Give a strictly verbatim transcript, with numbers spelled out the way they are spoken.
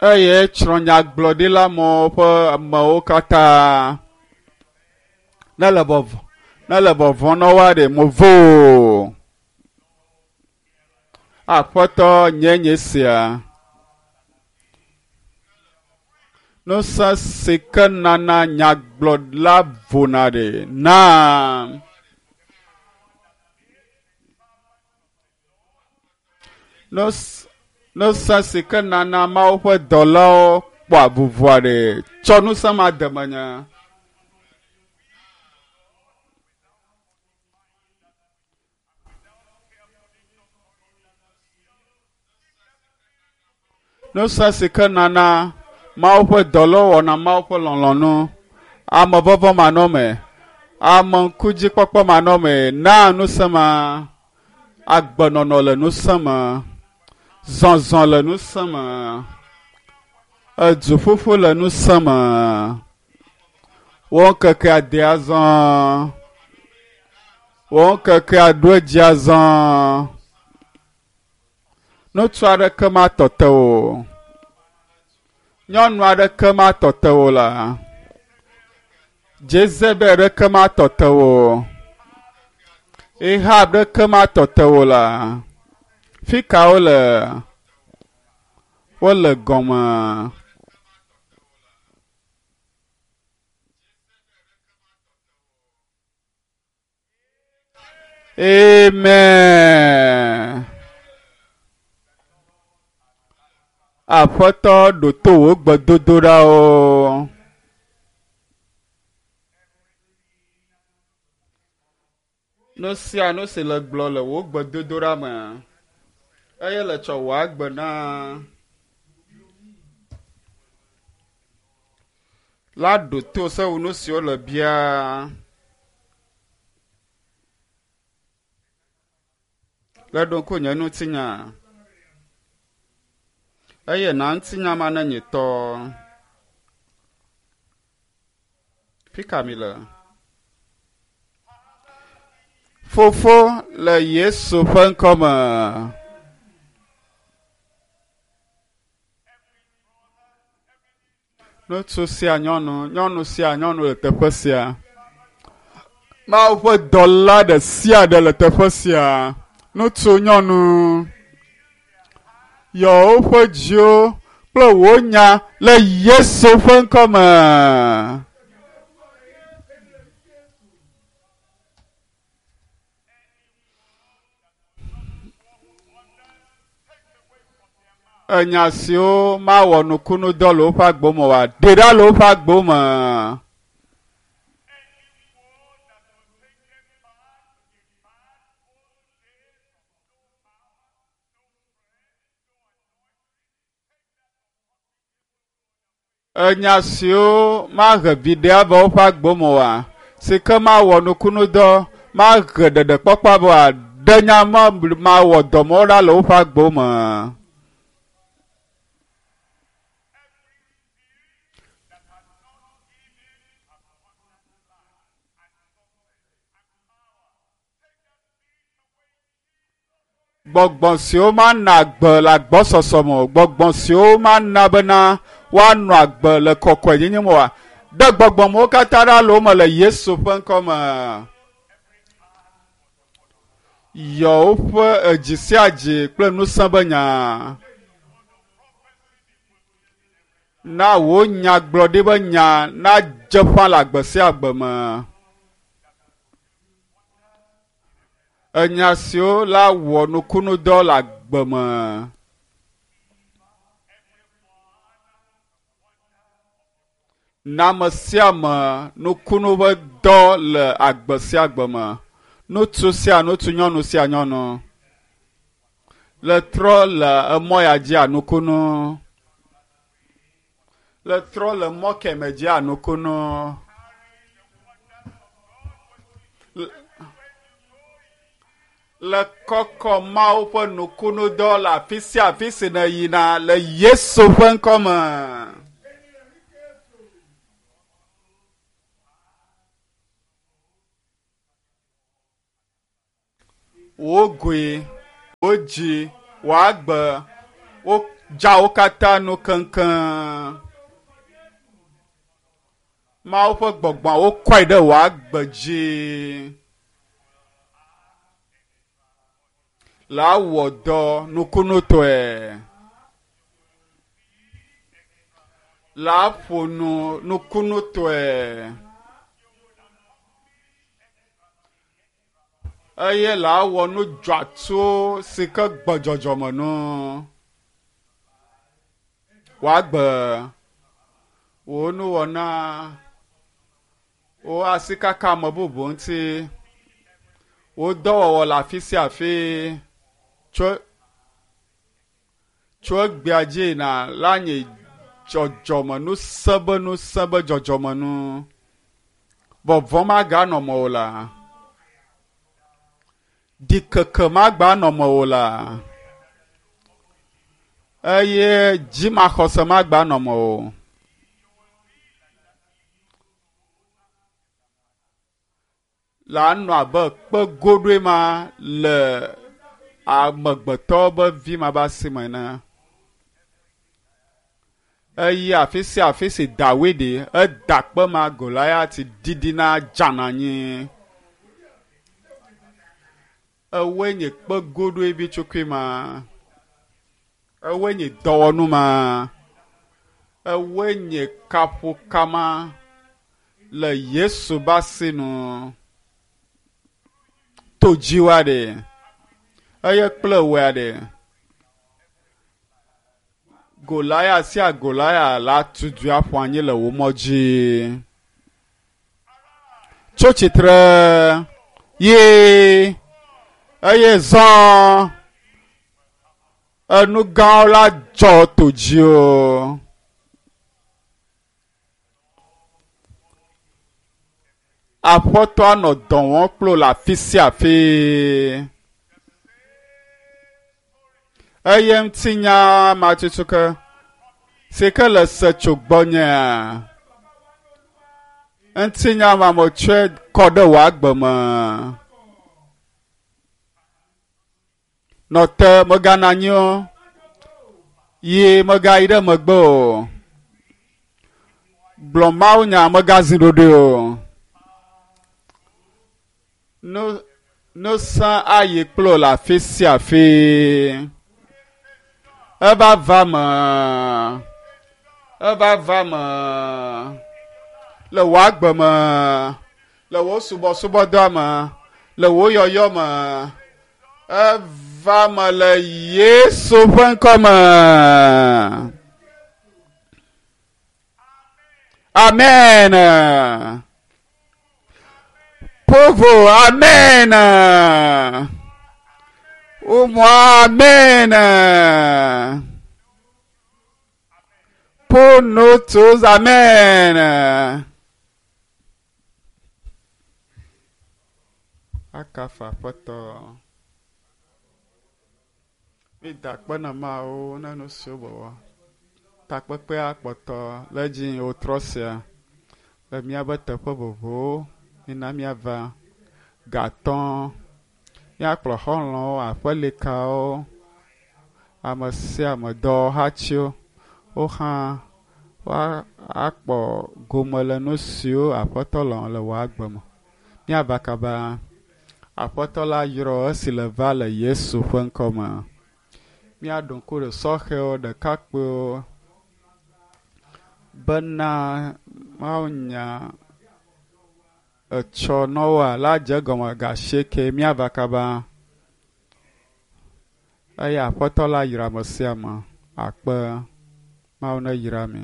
Eye tsrɔ̃ nyagblɔɖila mawo ƒe amewo katã. Ne le vɔvɔ, ne le vɔvɔ̃ na woa ɖe mevo o. Aƒetɔ nye nye sia. Ŋusẽ si ke nana nyagblɔɖila vona ɖe na. Ŋusẽ si ke nana Mawu ƒe dɔlawo kpɔa vuvɔa ɖe tsɔ ŋusẽ ma de menye. Ŋusẽ si ke nana Mawu ƒe dɔlawo wɔna Mawu ƒe lɔlɔ̃nu, ame vɔvɔ̃ manɔme, ame ŋkudzikpɔkpɔ manɔme, na ŋusẽ ma, agbenɔnɔ le ŋusẽ me, zɔzɔ le ŋusẽ me, eduƒuƒu le ŋusẽ me, wo ŋkeke ade azɔ, wo ŋkeke aɖo edzi azɔ, ŋutsu aɖeke matɔ te o, nyɔnu aɖeke matɔ te o la, Jezebel ɖeke matɔ te o, Ahab ɖeke matɔ te o la, fi ka wole? Wole gɔme. Amen. Aƒetɔ ɖo to wò gbedodoɖawo. Nu sia nu si le gblɔ le wò gbedodoɖa me, eye le tsɔ wò agbe na la ɖo to se wò nu siwo le bia. Le ɖo ŋku nye ŋutinya. Eye na ŋutinya ma ne nye tɔ. Fi ka mi le? Fofo le Yesu ƒe ŋkɔme. Ŋutsu sia nyɔnu, nyɔnu sia nyɔnu le teƒe sia. Mawu ƒe dɔla ɖe sia ɖe le teƒe sia. Ŋutsu, nyɔnu, yɔ woƒe dziwo kple wò nya le Yesu ƒe ŋkɔme. Enya siwo mawɔ nukunu dɔ le woƒe agbo me oa, ɖe ɖa le woƒe agbo me. Enya siwo mahe viɖe ava woƒe agbo me oa, si ke mawɔ nukunu dɔ, mahe ɖeɖekpɔkpɔ ava oa, ɖe nya ma mawɔ dɔmewo ɖa le woƒe agbo me. Gbɔgbɔ siwo mana agbe le agbɔsɔsɔ me o, gbɔgbɔ siwo mana bena woanɔ agbe le kɔkɔenyenye me oa, ɖe gbɔgbɔmewo katã ɖa le wo me le Yesu ƒe ŋkɔ me. Yɔ woƒe edzi sia dzi kple ŋusẽ be nya. Na wò nyagblɔɖi be nya nadze ƒã le agbe sia agbe me. Enya siwo la wɔ nukunu dɔ le agbe me. Na ame sia ame nukunu ƒe dɔ le agbe sia agbe me. Ŋutsu sia ŋutsu, nyɔnu sia nyɔnu. Le trɔ le emɔ ya dzia nukunu. Le trɔ le mɔ keme dzia nukunu. Le kɔkɔ Mawu ƒe nukunu dɔ le afi sia afi si ne yina le Yesu ƒe ŋkɔ me. Wò goe, wò dzi, wò agbe, wo Dza wo katã nu keŋkeŋ. Mawu ƒe gbɔgbɔa wokɔe ɖe wò agbe dzi. La wɔ dɔ nukunutɔe. La ƒo nu nukunutɔe. Eye la wɔ nu dzɔatsuwo si ke gbɔ dzɔdzɔme nu. Wò agbe, wò nuwɔna, wò asikaka ame bubu ŋuti, wò dɔwɔwɔ le afi sia afi tso tso egbea dzi yina la nye dzɔdzɔme ŋusẽ be ŋusẽ be dzɔdzɔme nu. Vɔvɔ̃ maganɔ mewò la. Ɖikeke magbanɔ mewò la. Eye dzimaxɔse magbanɔ mewò. La nɔ abe kpe goɖoe ma le amegbetɔ be vi ma be asi me ene. Eye afi sia afi si Dawid eda kpe ma Goliat ɖiɖina dzana anyi. Ewoe nye kpe goɖoe vi tsukui ma. Ewoe nye dɔwɔnu ma. Ewoe nye kaƒokama le Yesu be asi nu. To dziwoa ɖe. Eye kple woa ɖe. Goliat sia Goliat la tutu aƒu anyi le wò mɔ dzi. Tso tsitre ye eye zɔ enu gãwo la dzɔ to dziwò. Aƒetɔ nɔ dɔ wɔm kple wò le afi sia afi. Eye ŋutinya ma tutu ke si ke le se tso gbɔnyea. Ŋutinya ma metsɔe kɔ ɖe wò agbe me. Nɔ te mèganɔ anyi o. Yi mègayi ɖe megbe o. Gblɔ mawunya mègazi ɖoɖoe o. Nu ŋusẽ ayi kple wò le afi sia afi. Eva va me. Eva va me. Le wò agbe me. Le wò subɔsubɔdɔa me. Le wò yɔyɔ me. Eva me le Yesu ƒe ŋkɔ me. Amen. Povo, amen. Umu, amen. Pour nous tous, amen. Akafa aƒetɔ. Mi da akpe na Mawu ne nu siwo wòwɔ. Takpekpea kpɔtɔ le edzi wòtrɔ sia le míaƒe teƒe vovovowo. Mina míava gatɔ. Míakplɔ xɔlɔ̃wo, aƒelikawo, ame sia ame, dɔwɔhatiwo. Wo hã woakpɔ gome le nu siwo aƒetɔ lɔ̃ le wò agbe me. Míava kaba. Aƒetɔ la yrɔ esi le va le Yesu ƒe ŋkɔ me. Míaɖo ŋku ɖe sɔhɛwo, ɖekakpuiwo bena mawunya etsɔ nɔwoa la dze egɔme ga asieke míava kaba. Eye aƒetɔ la yra ame sia ame. Akpe. Mawu ne yra mi.